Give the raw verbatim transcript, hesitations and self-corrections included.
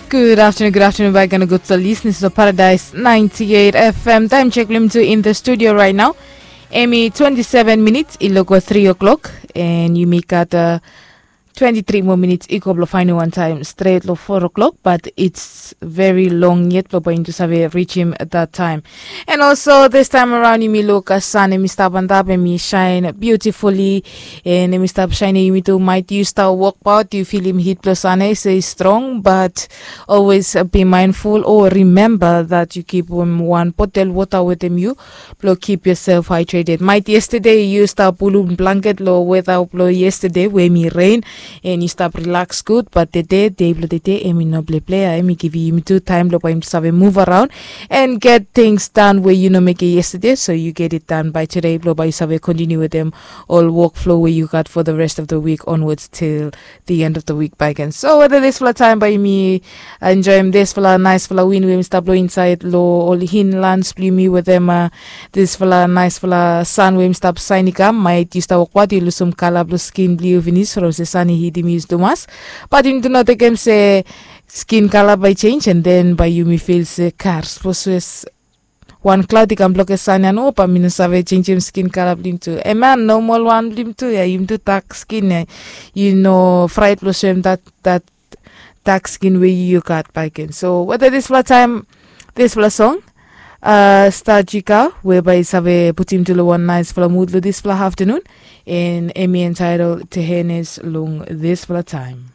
Good afternoon, good afternoon back and good to listening to Paradise ninety-eight F M. Time check lim to in the studio right now. Emi twenty-seven minutes, iloko three o'clock, and you make at uh, twenty-three more minutes. Iko blo finding one time straight lo four o'clock, but it's very long yet lo bain to save reach him at that time. And also this time around, yumi look a sun, emi stap on top, emi shine beautifully, and emi stap shine, yumi too might you start walk out, you feel him heat plus sun, I say strong, but always uh, be mindful or remember that you keep um, one bottle water with him you blo keep yourself hydrated. Might yesterday you start pulum blanket lo weather blo yesterday where me rain, and you start relax good, but the day day blo the day emi no play play, emi give you two time lo him to save move around and get things done where you no make it yesterday, so you get it done by today blo by you save continue with them all workflow where you got for the rest of the week onwards till the end of the week by again. So whether this fla time by me enjoy him this fla nice fla win where him start blow inside lo all hinlands blue me with them uh, this fla nice fla sun where him start sign come might you start walk what you lose some color blue skin blue finish from the sunny heat him use to mass, but him do not take him say skin color by change and then by you me feel say cars for Swiss. One cloud i kam bloke sani an opa mi no save changem skin kala blong tu. Eman normal wan blong tu ya, yum tu dak skin ya. Yu no fraet blong soem dat dat dak skin we yu gat baken. So weda disfala taem, disfala song uh, star jika weba i save putim tu long wan naisfala mud long disfala aftanun. And emi entitled to henes long disfala taem.